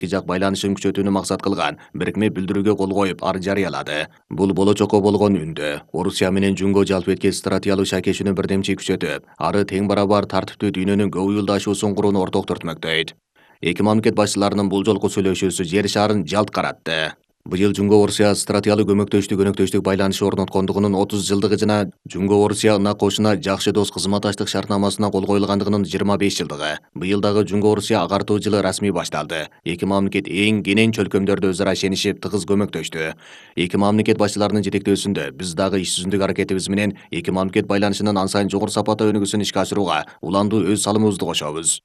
эки жак байланышын күчөтүүнү максат кылган бирикме билдирүүгө кол коюп, ар жарыялады. Бул болочокко болгон үндө. Орусия менен Жунго жалпы эткен стратегиялык шакешүүнү бирдемчи күчөтүп, ары тең барабар тартиптүү дүйнөнүн көп уюлдашуусун курууну орток түртмөктөйт. Эки мамлекет башчыларынын бул жолку сүйлөшүүсү жер шарын жалт каратты. Быйыл Жунго-Орусия стратегиялык көмөктөштүк байланышы орноткондугунун 30 жылдыгы жана Жунго-Орусия ынак кошуна жакшы дос кызматташтык шартнамасына кол коюлгандыгынын 25 жылдыгы. Быйыл дагы Жунго-Орусия агартуу жылы расмий башталды. Эки мамлекет эң кенен чөлкөмдөрдө өз ара ишенишип, тыгыз көмөктөштү. Эки мамлекет башчыларынын жетектөөсүндө биз дагы иш жүзүндөгү аракетибиз менен эки мамлекет байланышынын ан сайын жогору сапаттуу өнүгүүсүн ишке ашырууга уландуу өз салымыбызды кошобуз.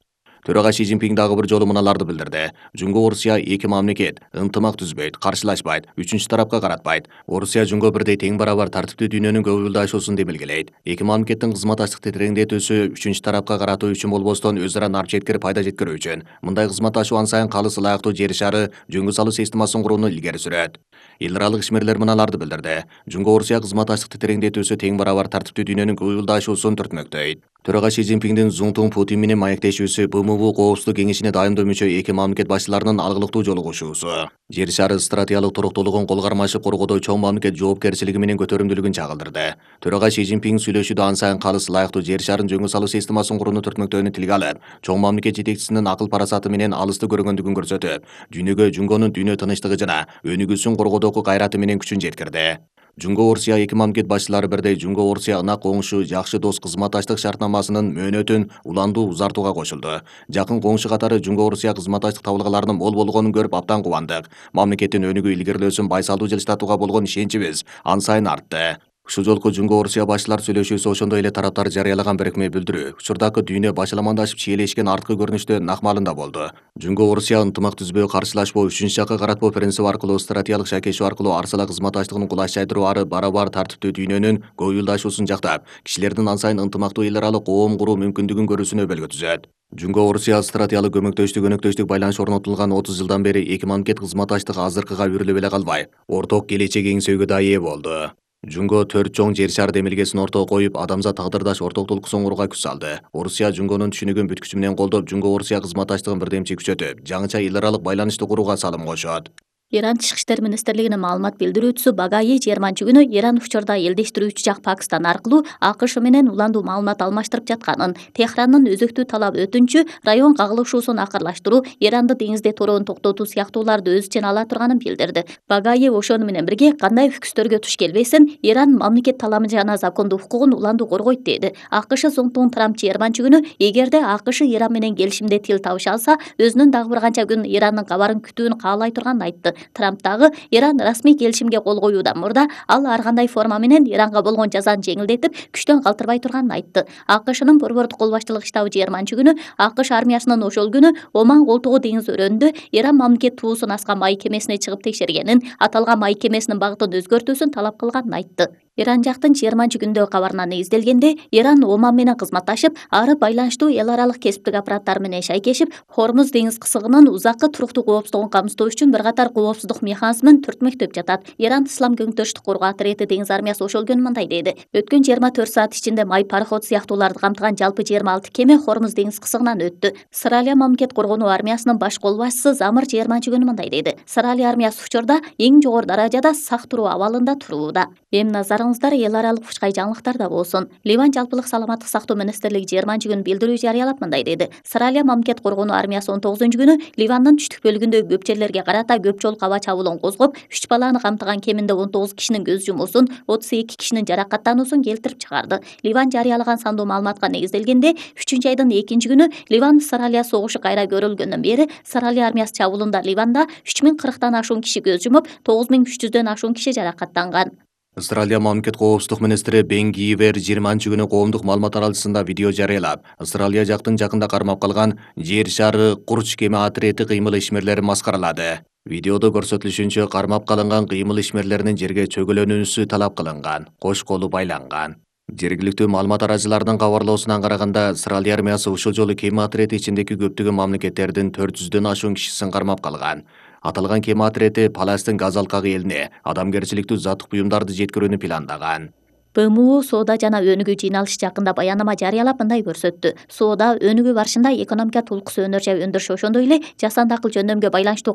Төрага Си Цзиньпин дагы бир жолу мыналарды билдирди. Жунго-Орусия эки мамлекет ынтымак түзбөйт, каршылашпайт, үчүнчү тарапка каратпайт. Орусия Жунго бирдей тең барабар тартиптүү дүйнөнүн көп уюлдашуусун демилгелейт. Эки мамлекеттин кызматташтыкты тереңдетүүсү үчүнчү тарапка каратуу үчүн болбостон өз ара нар четкир пайда жеткирүү үчүн. Мындай кызматташуу ан сайын калыс ылайыктуу жер шары жөнгө салуу системасын курууну илгери сүрөт. Эл аралык ишмерлер мыналарды билдирди. Жунго-Орусия кызматташтыкты тереңдетүүсү тең барабар тартиптүү дүйнөнүн көп уюлдашуусун түртмөктөйт. Төрага Си Цзиньпиндин Зуңтун Путин менен маектешүүсү БМУ Коопсуздук кеңешине дайымдуу мүчө эки мамлекет башчыларынын алгылыктуу жолугушуусу. Жер шары стратегиялык туруктуулугун кол кармашып коргоодо чоң мамлекет жоопкерчилиги менен көтөрүмдүүлүгүн чагылдырды. Төрага Си Цзиньпин сүйлөшүүдө ан сайын калыс ылайыктуу жер шарын жөнгө салуу системасын курууну түртмөктөөнү тилге алып, чоң мамлекет жетекчисинин акыл парасаты менен алысты көргөндүгүн көрсөтүп, дүйнөгө Жунгонун дүйнө тынчтыгы жана өнүгүүсүн коргоодогу кайраты менен күчүн жеткирди. Жунго-Орусия эки мамлекет башчылары бирдей Жунго-Орусия ынак коңшу жакшы дос кызматташтык шартнамасынын мөөнөтүн уландуу узартууга кошулду. Жакын коңшу катары Жунго-Орусия кызматташтык табылгаларынын мол болгонун көрүп абдан кубандык. Мамлекеттин өнүгүү илгерилөөсүн байсалдуу жылыстатууга болгон ишеничибиз ан сайын артты. Ушул жолку Жунго-Орусия башчылар сүйлөшүүсү ошондой эле тараптар жарыялаган бирикме билдирүү учурдагы дүйнө башаламандашып чиелешкен арткы көрүнүштө накмалында болду. Жунго-Орусия ынтымак түзбөө, каршылашпоо, үчүнчү жакка каратпоо принциби аркылуу стратегиялык шакешүү аркылуу арсала кызматташтыгын кулачтайдыруу ары барабар тартиптүү дүйнөнүн көп уюлдашуусун жактап, кишилердин ан сайын ынтымактуу эл аралык коом куруу мүмкүндүгүн көрүүсүнө өбөлгө түзөт. Жунго-Орусия стратегиялык өнөктөштүк байланыш орнотулган 30 жылдан бери эки мамлекет кызматташтыгы азыркыга үйрүлүп эле калбай, орток келечек эңсөөгө да ээ болду. Жунго 4 чоң жер шар демилгесин ортого коюп, адамзат тагдырдаш ортоктулук курууга күч салды. Орусия Жунгонун түшүнүгүн бүт күчү менен колдоп, Жунго-Орусия кызматташтыгын бирдемчи күчөтүп, жаңыча эл аралык байланышты курууга салым кошот. Иран Тышкы иштер министрлигинин маалымат билдирүүчүсү Багаи 20 Иран учурда элдештирүүчү жак Пакистан аркылуу АКШ менен уландуу маалымат алмаштырып жатканын, Техрандын өзөктүү талап өтүнчү район кагылышуусун акырлаштыруу, Иранды деңизде тороонун токтотуу сыяктууларды өз ичине ала турганын билдирди. Багаи ошону менен бирге кандай фикстөргө туш келбесин, Иран мамлекет таламы жана закондуу укугун уландуу коргойт деди. АКШ Зоңтун Трамп 20 эгерде АКШ Иран менен келишимде тил табыша алса, өзүнүн дагы бир канча күн Ирандын кабарын күтүүнү каалай турганын айтты. Трамп дагы Иран расмий келишимге кол коюудан мурда ал ар кандай форма менен Иранга болгон жазаны жеңилдетип, күчтөн калтырбай турганын айтты. АКШнын борбордук кол баштылык штабы 20 АКШ армиясынын ошол күнү Оман Колтугу деңиз өрөөнүндө Иран мамлекет туусун аскан май кемесине чыгып текшергенин, аталган май кемесинин багытын өзгөртүүсүн талап кылганын айтты. Иран жактын 20 кабарына негизделгенде, Иран Оман менен кызматташып, ары байланыштуу эл аралык кесиптик аппараттар менен шайкешип, Хормуз деңиз кысыгынын узаккы туруктуу коопсуздугун камсыздоо үчүн бир катар коопсуздук механизмин түртмөктөп жатат. Иран Ислам көңүтөштүк коргоо отряды деңиз армиясы ошол күнү мындай деди: өткөн 24 саат ичинде май пароход сыяктууларды камтыган жалпы 26 кеме Хормуз деңиз кысыгынан өттү. Сыралия мамлекет коргонуу армиясынын баш кол башчысы Замыр 20 мындай деди: Сыралия армиясы учурда эң жогору даражада сак туруу абалында турууда. Эми назарыңыздар эл аралык фучкай жаңылыктарда болсун. Ливан жалпылык саламаттык сактоо министрлиги 20 билдирүү жарыялап мындай деди: Сыралия мамлекет коргонуу армиясы 19 Ливандын түштүк бөлүгүндөгү көп жерлерге карата көп жолу аба чабуулун козгоп, 3 баланы камтыган кеминде 19 кишинин көз жумуусун, 32 кишинин жаракаттануусун келтирип чыгарды. Ливан жарыялаган сандуу маалыматка негизделгенде, 3-айдын 2 Ливан Сыралия согушу кайра көрүлгөндөн бери Сыралия армиясы чабуулунда Ливанда 3040 ашуун киши көз жумуп, 9300 ашуун киши жаракаттанган. Австралия мамлекет коопсуздук министри Бен Гивер 20 коомдук маалымат таралчысында видео жарыялап, Австралия жактын жакында кармап калган жер шары курч кеме отряды кыймыл ишмерлерин маскаралады. Видеодо көрсөтүлүшүнчө кармап калынган кыймыл ишмерлеринин жерге чөгөлөнүүсү талап кылынган, кош колу байланган. Жергиликтүү маалымат арачыларынын кабарлоосуна караганда, Австралия армиясы ушул жолу кеме отряды ичиндеги көптөгөн мамлекеттердин 400 ашуун кишисин кармап калган. Аталган кеме отряды Палестин газ алкагы элине адамгерчиликтүү заттык буюмдарды жеткирүүнү пландаган. БМУ соода жана өнүгүү жыйналышы жакында баянама жарыялап мындай көрсөттү. Соода өнүгүү барышында экономика толкусу өнөр жай өндүрүшү ошондой эле жасанды акыл жөндөмгө байланыштуу